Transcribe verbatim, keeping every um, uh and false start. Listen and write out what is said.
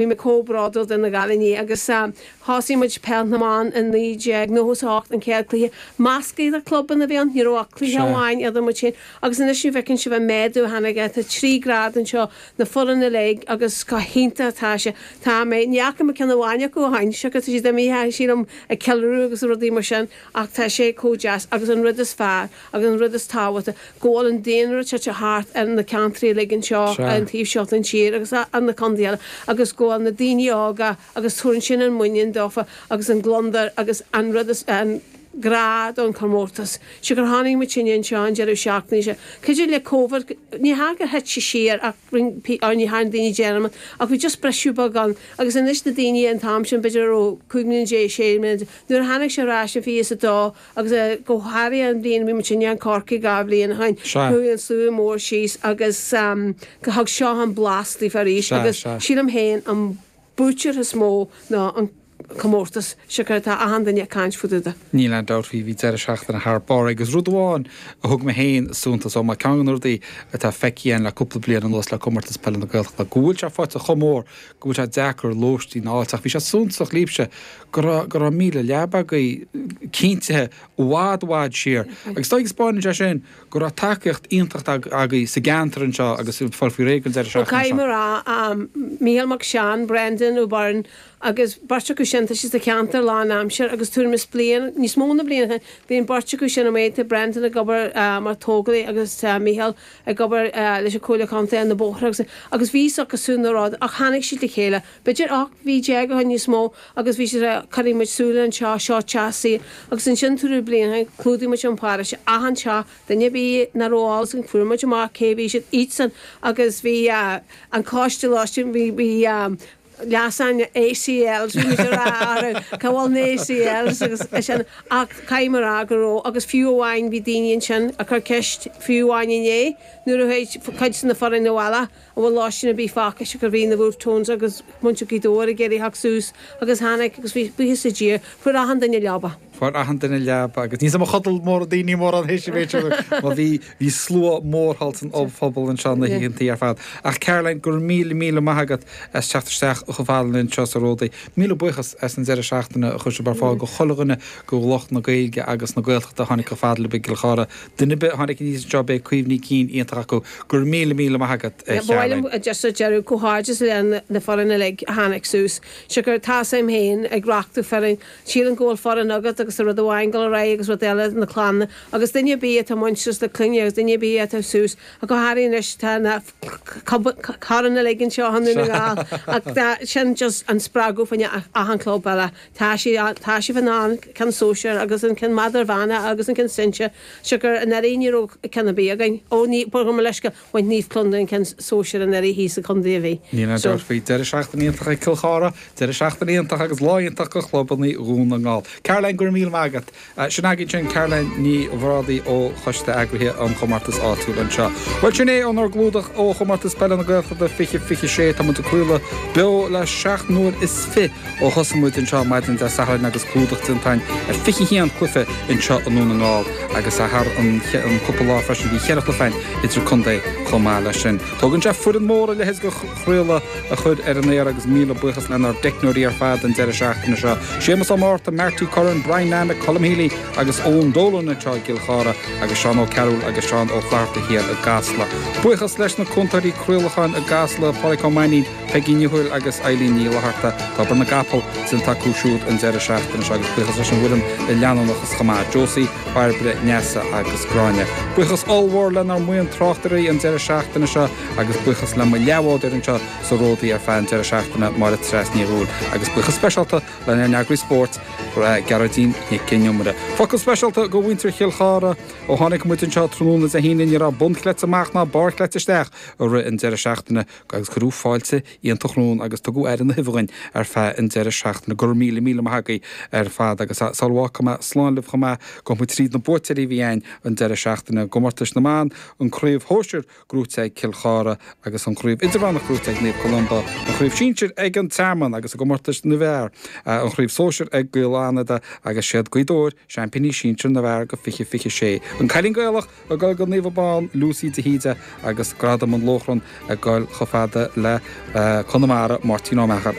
Bhí mé chomh bródúil de na cailíní agus thosaigh muid peil na mban in naoi déag nócha is a hocht an chéad cluiche measctha idir clubanna a bhí ann, ní raibh ach cluiche amháin idir muid féin agus anois ní bhfeiceann sibh an méadú a tháinig tá trí grád anseo na foireann uilig agus go hiontach atá sé. Tá mé, ní fhaca mé ceann amháin acu ó shin, siocair tá siad imithe sílim ag ceiliúradh agus rudaí mar sin ach tá sé chomh deas agus an rud is fearr agus an rud is tábhachtaí go bhfuil an daonra tite thart ar na ceantraí uilig anseo an taobh seo den tír agus ar na contaetha eile agus go bhfuil na daoine óga agus tugann sin an muinín dófa agus an gliondar agus an rud is an grá don chomórtas. Siocair tháinig muid sinne anseo an deireadh seachtaine seo. Cuidir le Covid, ní hea gur thit sé siar ach ní dhearna daoine dearmad ach bhí just briseadh beag ann agus anois na daoine an t-am sin b'fhéidir a raibh cúig mbliana déag, sé mbliana nuair a tháinig sé ar ais in fiche is a dó agus go háirithe an bhliain a bhí muid sinne in Corcaigh dhá bhliain ó shin, chuaigh an slua mór síos agus go thug seo an blas daofa arís agus sílim féin an buaiteoir is mó ná an comórtas siocair atá achan duine ag caint fá dtaobh de. Níl aon dabht faoi, bhí deireadh seachtaine thar barr agus rud amháin a thug mé féin suntas ó mar ceann de na rudaí atá feicthe againn le cúpla bliain anuas le Comórtas Peile na Gaeltachta go bhfuil sé faighte chomh mór go bhfuil sé deacair lóistín a fháilt ach bhí sé suntasach libhse go raibh go raibh míle leaba agaibh cinntithe i bhfad i bhfad siar agus dóigh go spáineann sé sin go raibh tacaíocht iontach agaibh sa gceantar anseo agus ag fáil faoi réir don deireadh Bhuel seachtaine caithfidh seo. mé a rá, Mícheál Mac Seáin, Brendan Ó Beirn agus beirt acu sin, tá siad sa cheantar lán aimsir agus tuairim is bliain, níos mó na bliain ó shin, bhí an beirt acu sin amuigh, tá Brendan ag obair mar tógálaí agus tá Mícheál ag obair leis an Comhairle Contae ar na bóithre agus agus bhí fhios acu siúd na rud ach tháinig siad le chéile, b'fhéidir ocht mhí déag ó shin níos mó agus bhí siad ag rá cuirfidh muid súil anseo, seo teach saoil agus ansin tuairim bliain ó shin chlúdaigh muid an paróiste achan teach, duine ar bith nach raibh eolas againn fuair muid amach cé bhí siad iadsan agus bhí an coiste lóistín bhí bhí leasán ACLs bhí muid ag rá orthu cá bhfuil na ACLs agus é sin ach caithfidh mé a rá go raibh agus fiú amháin bhí daoine ansin ag cur ceist fiú amháin inné nuair a chuaigh cuid de na foireann abhaile an bhfuil lóistín ar bith fágtha siocair bhí na Wolfe Tones agus muintir Ghaoth Dobhair ag iarraidh theacht suas agus tháinig agus bhí buíochas le Dia fuair achan duine leaba. Fuair achan duine leaba agus níl 's agam ar chodail mórán daoine mórán théis an mhéid sin mar bhí bhí slua mór thall san ollphuball anseo na hoícheantaí ar fad. Ach Caroline, go raibh míle míle maith agat as teacht isteach chomh fada linn anseo sa Ródaí. Míle buíochas as an deireadh seachtaine a chuir sibh ar fáil go chuile dhuine go lucht na Gaeilge agus na Gaeltachta a tháinig chomh fada libh i gCill Chartha. Duine ar bith a tháinig aníos anseo beidh cuimhní cinn iontach acu. Go raibh míle míle maith agat a Ba mhaith liom Charoline. just ar deireadh comhghairdeas le na foireann uilig a tháinig suas. Siocair tá 's agam féin ag reachtú foireann Sílim go bhfuil foireann agat agus tá rud amháin dul ar aghaidh agus rud eile na clanna agus duine ar bith atá muinteartha le clainne agus duine ar bith atá suas ach go háirithe anois tá na coirn uilig anseo i nDún na nGall ach tá sin just an spreagadh fá choinne achan club eile. Tá sí tá sibh in ann ceann sóisear agus an ceann idirmheánach agus an ceann sinsir siocair anuraidh ní raibh ceann ar bith againn. Ó ní gabh mo leithscéal bhain Naomh Columba an ceann sóisear anuraidh thíos sa chontae a bhí. Níl aon So. dabht faoi. Deireadh seachtaine iontach ag Cill Chartha. Deireadh seachtaine iontach agus lá iontach do chlubanna Dhún na nGall. Caroline, go raibh míle maith agat. Sin againn sin Caroline Ní Bhrádaigh ó Choiste Eagraithe an Chomórtais Áitiúil anseo. Bhuel sin é ónár gclúdach ó Chomórtas Peile na Gaeltachta fiche fiche sé. Tá muid ag craoladh beo le seacht n-uair is fiche ó thosaigh muid anseo maidin Dé Sathairn agus clúdach déanta againn ar fiche haon cluiche anseo i nDún na nGall agus thar an cúpla lá freisin bhí cheithre chluiche againn idir contae chomh maith leis sin. Tógann sé foireann mór a leithéid de chraoladh a chur ar an aer agus míle buíochas lenár dteicneoirí ar fad an deireadh seachtaine seo, Séamus Ó Márta, Marty Curran, Brian Nammock, Colm Healy agus Eoin Dolan anseo i gCill Chartha agus Seán Ó Cearúil agus Seán Ó Flatharta thiar i gCasla. Buíochas leis na cúntóirí craolacháin i gCasla, Pádraic Ó Mainnín, Peigí Ní Thuathail agus Eileen Ní Fhlatharta. Tá obair na gcapall déanta acu siúd an deireadh seachtaine seo agus buíochas leis an bhfoireann i leanúnachas chomh maith, Josie, Bairbre, Neasa agus Gráinne. Buíochas ollmhór lenár mbuíon tráchtairí an deireadh seachtaine seo agus buíochas le mo leathbhádóir anseo sa Ródaí ar feadh an deireadh seachtaine, Máire Treasa Ní Dhubhghaill, agus buíochas speisialta lenár n-eagraí spóirt, Gearóidín Nic an Iomaire. Focal speisialta go mhuintir Chill Chartha, ó tháinig muid anseo tráthnóna Dé hAoine ní raibh bun chleite amach ná barr chleite isteach i rith an deireadh seachtaine agus cuireadh fáilte iontach romhainn agus tugadh aire na huibhe dhuinn ar feadh an deireadh seachtaine. Go raibh míle míle maith agaibh ar fad agus sula bhfágfaidh mé slán libh chomh maith, gabhfaidh muid tríd na buaiteoirí a bhí againn an deireadh seachtaine i gcomórtais na mban, an chraobh shóisir gnóite ag Cill Chartha agus an chraobh idirmheánach gnóite ag Naomh Columba, an chraobh sinsir ag an Tearmann agus i gcomórtais na bhfear, an chraobh sóisir ag Gaoth Fhánada agus agus siad Gaoth Dobhair, seaimpíní sinsir na bhfear go fiche fiche sé. An Cailín Gaelach ag dul go Naomh Abán, Lucy de hÍde agus Gradam an Lóchrann ag dul chomh fada le Conamara, Máirtín Ó Meachair.